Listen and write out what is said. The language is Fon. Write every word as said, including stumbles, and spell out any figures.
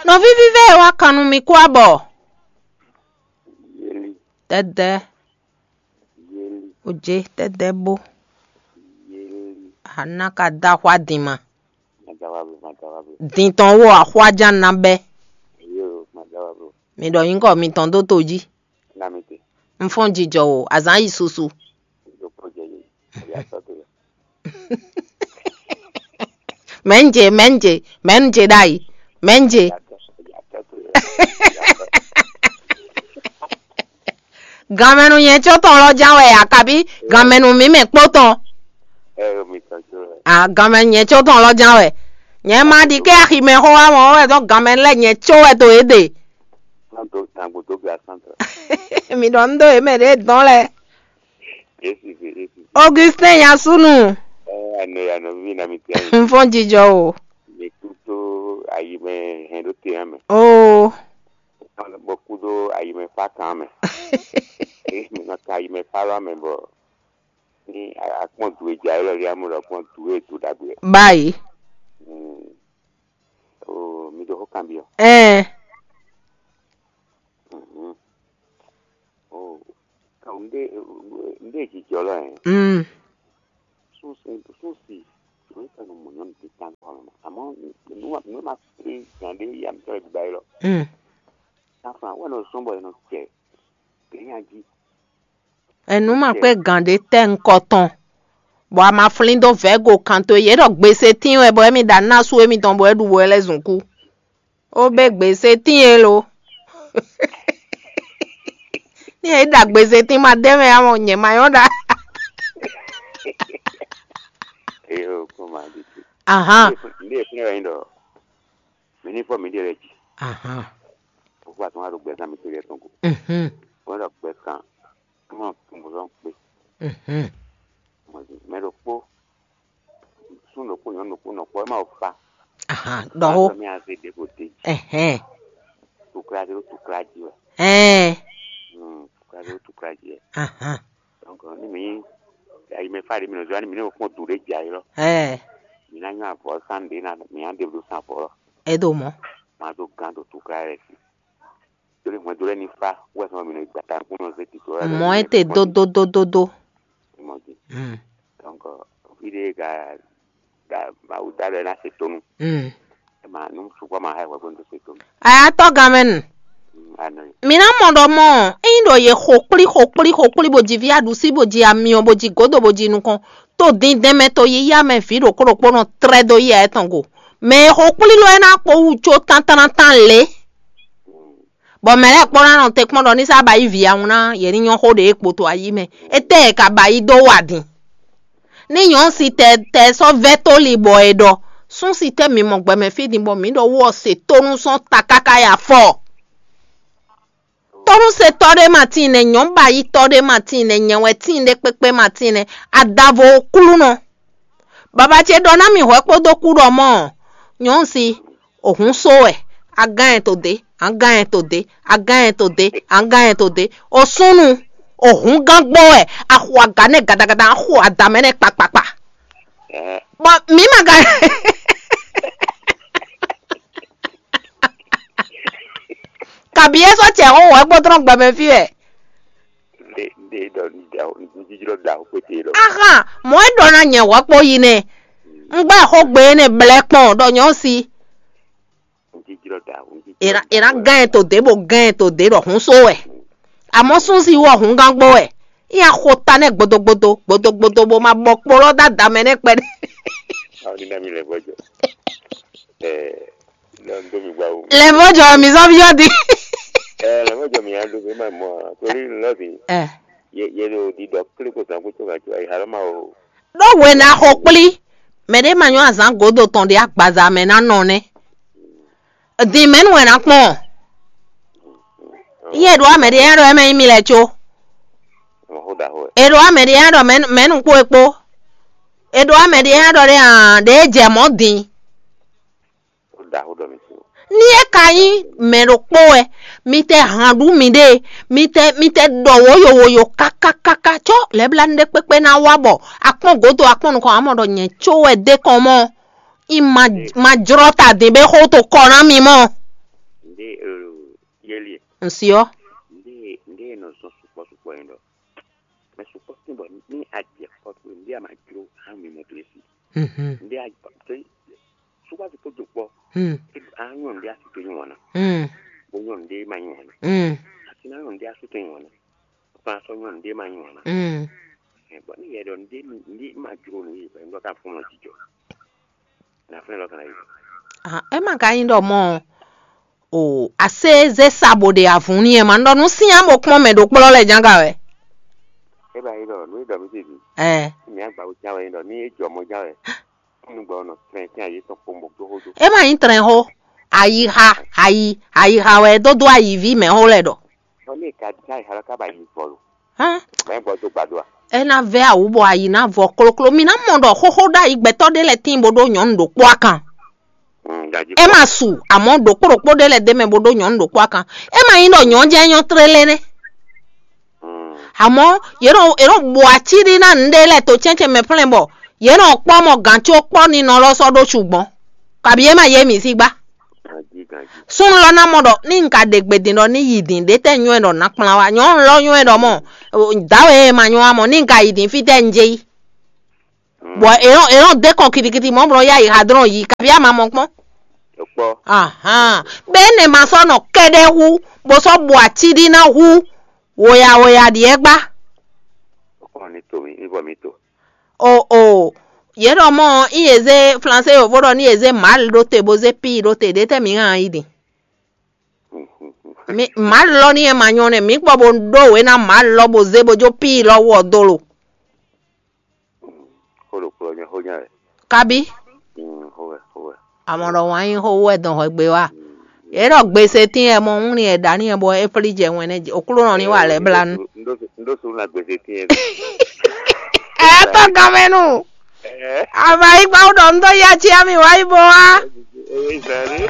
Nɔví vívɛ́ e wá kan nú mi kú abɔ. Yeli, Tɛ́dɛ́, yeli, ojé, tɛ́dɛ́ bó. Yeli. Ana ka dó axwá din ma. Madawa bro, madawa bro. Din tɔn wo axwá ján ná bɛ́. Yo, madawa bro. Mi ɖɔ nyǐkɔ mitɔn dó to jí. Na mi te. Un fɔ́n jijɔ o, azǎn yi susu. Ɖokpó jɛ yě. Mɛ̌nje, mɛ̌nje, mɛ̌nje ɖ'ayǐ, mɛ̌nje. Ganmɛnu nyɛ có tɔn lɔ ján wɛ a, kabí ganmɛnu mǐ mɛ kpó tɔn? A, ganmɛ nyɛ có tɔn lɔ ján wɛ. Nyɛ ma ɖi kɛ aximɛ xó wá mɔ wɛ dɔn ganmɛ lɛ nyɛ có wɛ to é ɖe. Mi ɖɔ un ɖo yě mɛ ɖě dɔn lɛ. Augustin Yasunu. Anɔ ya nɔví na mi tɛn. Un fɔ́n jijɔ o. Mi kútó ayi mɛ hɛn ɖó te mɛ. Oo. Bɔ kúdó ayi mɛ fá kan mɛ. Mi nɔ ka ayi mɛ fá lɔ mɛ bɔ ní akpɔn du e ja élɔ́ ɖé amú ɖɔ akpɔn du e du ɖagbe. Báyìí. Oo, mi ɖo xó kanbyɔ. Ɛɛ. Mhm. Oo, un ɖe un ɖe jijɔ lɔ ɛ. Mm. Súnsi súnsi nú ka nɔ mɔ nyɔnu títàn kɔ mɛ. Àmọ́ nú nú ma kplé gǎn ɖé yá mi tɔ́ lɛ bíbá élɔ́. Mm. Safran wɛ nɔ zɔn bɔ è nɔ jɛ gɛ̌nya jí. Ɛnu ma kpé gǎn ɖé tɛ́ ŋkɔ tɔn, bɔ a ma flín dó vɛ̌go kan towe. Yě ɖɔ gbese tín wɛ bɔ émí ɖo aná sú émítɔn bɔ é ɖu bɔ é lɛ́ zun kú. Ó bé gbese tín e lo. Ní yě ɖa gbese tín ma dé mɛ ǎ mɔ nyɛ ma nyɔ́ ɖa. Eyo kó ma ɖi te. Ahan. Ndé fúnɛ wɛ nyí ɖɔ mi ní fɔ mi ɖe lɛ jí. Ahan. Fofo atún wa ɖo gbɛ kan mi to yɛ tɔn ko. Mhm. Wọ́n ɖɔ gbɛ kan. Wọ́n tún bɔ lɔn kpé. Mhm. Mɛ ɖokpó sún ɖokpó nyɔ̌nu ɖokpó nɔ kpɔ́ é ma wo fa. Ahan. Ɖɔxó. Wọ́n mi aze ɖě ko dé. Ɛhɛn. Tukla ɖé ɖo tukla jí wɛ. Ɛɛ. Hmm, tukla ɖé ɖo tukla jí wɛ. Ahan. Donc ni mi ayi mɛ fa ɖé mi nɔ zɔ ni mi ne kpɔn du ɖé dza yi lɔ. Ɛɛ. Mi na nyɔ avɔ san ɖé na mi na ɖe ɖo san avɔ lɔ. Edo mɔ. Ma do gan do tukla rɛ si. Dole hwɛndo lɛ ni fa wɛ sɔn mi nɔ gbata kún nɔ zé tito. Mɔ ete dododododo. Mɔ di. Mm. Donc fi ɖe ga ga Mawu da lɛ na se tonu. Mm. Ma nu sukpɔ ma ha wɛ ko ndo se tonu. Aya tɔ gamɛ nu. Anɔ. Mi na mɔ ɖɔ mɔ eyin ɖɔ ye xo kpli xo kpli xo kpli bo ji vi aɖusi bo ji amiɔ bo ji godo bo ji nukɔn to dindɛn mɛ to yiya mɛ vi ɖokpó ɖokpó nɔ trɛ do yi ayɛ tɔn go. Mɛ e xo kpli lɔ e na kpó wu có tántánátán lě. Bɔ mɛ lɛ́ɛ kpɔ́n ná nɔ te kpɔ́n ɖɔ ní sá ba yí vǐ awun ná yě ní nyɔ́ xó ɖě kpoto ayí mɛ. Étɛ́ e ka ba yí dó wa din? Ní nyɔ̌nu si tɛ tɛ sɔ́ vɛ́ tóli bɔ è ɖɔ sún si tɛ́ mi mɔ gbɛmɛ fí din bɔ mǐ ɖɔ wú ɔ́ se tónú sɔ́ ta káká yi afɔ. Tónúsetɔ́ ɖé ma tíin nɛ́, nyɔ̌nu ba yí tɔ́ ɖé ma tíin nɛ́, nyɛ wɛ tíin ɖé kpékpé ma tíin nɛ́, adavo Oklúnɔ. Baba ce ɖɔ ná mì hwɛ̌ kpódó kú ɖɔ mɔ́ ɔ́, nyɔ̌nu si, o hǔn só wɛ, a gán ɛ to dě, a gán ɛ to dě, a gán ɛ to dě, a gán ɛ to dě, o súnnu, o hǔn gán gbɔ wɛ, a xo aga nɛ́ gadagada, a xo adǎ mɛ nɛ́ kpakpakpa. Bɔ mǐ ma ka kabi é sɔ́ cɛ xó wɛ gbɔdrɔn gbɛmɛ fí wɛ. Ɖe ɖe ɖɔ ɖaxo jíjlɔ ɖaxo kpete ɖɔ. Ahan, mɔ̌ é ɖɔ ná nyɛ wɔ kpó yi nɛ. Un gbá xógbe énɛ́ blɛ́ kpɔn ɖɔ nyɔ̌ si. Jíjlɔ ɖaxo jíjlɔ. È ná gán ɛ to dě bó gán ɛ to dě ɖɔ hǔn só wɛ. Àmọ́ sún si wɔ hǔn gán gbó wɛ. Í nya xo ta nɛ́ gbodogbodo gbodogbodo bó ma bɔ kpo lɔ dó ada mɛ nɛ́ kpɛɖé. Awo ní ná mi lɛ gbɔjɔ. Ɛ lɛ ń dó mi gbá wo. Lɛ mɔ jɔ mi zɔ bi yɔ di. Ɛ lɛ mɔ jɔ mi ya do mi ma mɔ a torí lɔ bi. Ɛ. Ye ye do di dɔ kle ko zan ko to ka to ayi halɔ ma o. Ɖó wena xo kplí mɛ ɖé ma nyɔ́ azǎn godo tɔn ɖe agbaza mɛ ná nɔ nɛ́. Din mɛ̌nu wɛ ná kpɔn? Yɛ ɖo amɛ ɖe yɛ ɖɔ ɛmɛ nyí mi lɛ có. Mɔ xó ɖaxó wɛ. È ɖo amɛ ɖe yɛ ɖɔ mɛ̌nu kpó e kpó. È ɖo amɛ ɖe yɛ ɖɔ ɖe hàn ɖe jɛ mɔ̌ din. Ní é ka nyí mɛ ɖokpó wɛ, mi tɛ hǎn ɖú miɖée, mi tɛ mi tɛ ɖɔ wǒ yowoyo kákákáká có lɛ̌blánú ɖé kpékpé ná wá bɔ akpɔ́n gǒdo akpɔ́n nukɔn ǎ mɔ ɖɔ nyɛ có wɛ d'é kɔn mɔ́, í ma ma jlɔ́ ta din bó xó to kɔ ná mi mɔ́. Un si ɔ́. Ndé ndé e nɔ zɔn sukpɔ́ sukpɔ́ ɛ ɖɔ. Mɛ sukpɔ́ tín bɔ ní a jɛ kpɔ́ towe, ndé a ma jló hán mi mɔ towe si. Mhm. Ndé a jɛ sukpɔ́ sukpɔ́ do kpɔ́. Hmm. A nyɔ ndé a si to nyɔ wana. Hmm. Bo nyɔ ndé ma nyɔ wana. Hmm. A si na nyɔ ndé a si to nyɔ wana. Kpán sɔ́ nyɔ ndé ma nyɔ wana. Hmm. Ɛ, bɔ ní yɛ ɖɔ ndé mi ndé ma jló nú yi, bɔ ndɔ ka fún nɔ jijɔ. Na fún nɔ ka na yi. Ah, ema ka nyi ɖɔ mɔ o ase zé sa bo ɖe avun ni ɛ ma ɖɔ nú sinya bo kpɔn mɛ ɖo kplɔ lɛ janga wɛ. E ba yi ɖɔ nú e ɖɔ mi ti bi. Ɛ. Mi agba wo ja wɛ ɖɔ ní e jɔ mɔ ja wɛ. Nú gbɔ nɔ trɛn tin ayi tɔn kpɔn bo gbɔ xo do. Ema nyi trɛn xo. Ayixa ayi ayixa wɛ do do ayivi mɛ xo lɛ ɖɔ. Bɔ ní e ka ja yi xalɔ ka ba yi vɔ lo. Hã? Mɛ gbɔ do gbado a. E na vɛ awu bɔ ayi na vɔ kloklo. Mi na mɔ ɖɔ xoxo ɖo ayi gbɛtɔ ɖe lɛ tin bo ɖo nyɔnu ɖo kpɔ akan. Mm, gaji e kpɔ. Ma su, amɔ ɖokpo ɖokpo ɖe lɛ de mɛ bo ɖo nyɔnu ɖokpo akan. E ma nyi ɖɔ nyɔnu jɛ nyɔ tlélé nɛ. Mm. Amɔ yě nɔ yě nɔ bo aci ɖi na nǔɖé lɛ to cɛncɛn mɛ plɛn bɔ yě nɔ kpɔ mɔ gǎn có kpɔ ni nɔ lɔ sɔ ɖó sugbɔn. Kabi e ma yé mi sí gbá. Gaji gaji. Súnnu lɔ ná mɔ ɖɔ ní un ka ɖe gbe din ɖɔ ní yi din ɖě tɛ́ nywɛ́ ɖɔ ná kplán wá. Nyɔ̌nu lɔ nywɛ́ ɖɔ mɔ dǎwe e ma nywɛ́ wá mɔ ní un ka yi din fí tɛ́ un jɛ yi. Bɔ è nɔ è nɔ dé kɔn kitikiti mɔ̌ bɔ nɔ yá yi hadrɔn yi kabi ama mɔ kpɔ́n. Kpɔ. Ahan. Bɛ énɛ́ ma sɔ́ nɔ kɛɖɛ́ hú bó sɔ́ bu ací ɖi ná hú woya woya ɖiɛ gbá. Kpɔ ní to mi ní vɔ mi to. O o yě ɖɔ mɔ í yě zé flansé yovo ɖɔ ní yě zé mǎl ɖó te bó zé píi ɖó te ɖě tɛ́ mi hán yi din. Mi mǎl lɔ ní yɛ ma nyɔ nɛ mi gbɔ bó ɖó wě ná mǎl lɔ bó zé bó jó píi lɔ wɔ dó lo. Xó ɖokplɔ nyɛ xó nyɛ wɛ. Kabi. Mm, xó wɛ xó wɛ. Amɔ ɖɔ wǎn nyí xó wɛ dɔn hwɛgbe wa. Yě ɖɔ gbese tín yɛ mɔ hún ni yɛ ɖa ní yɛ bɔ é flí jɛ wɛn nɛ okúlónɔ ní wa lɛ bla nu. Ndo ndo sunu na gbese tín yɛ. Ɛ tɔ gamɛnu. Ɛ. Ava yi gba ɖɔ ndo ya cia mi wa yi bo wa. Ɛ ɛ zari.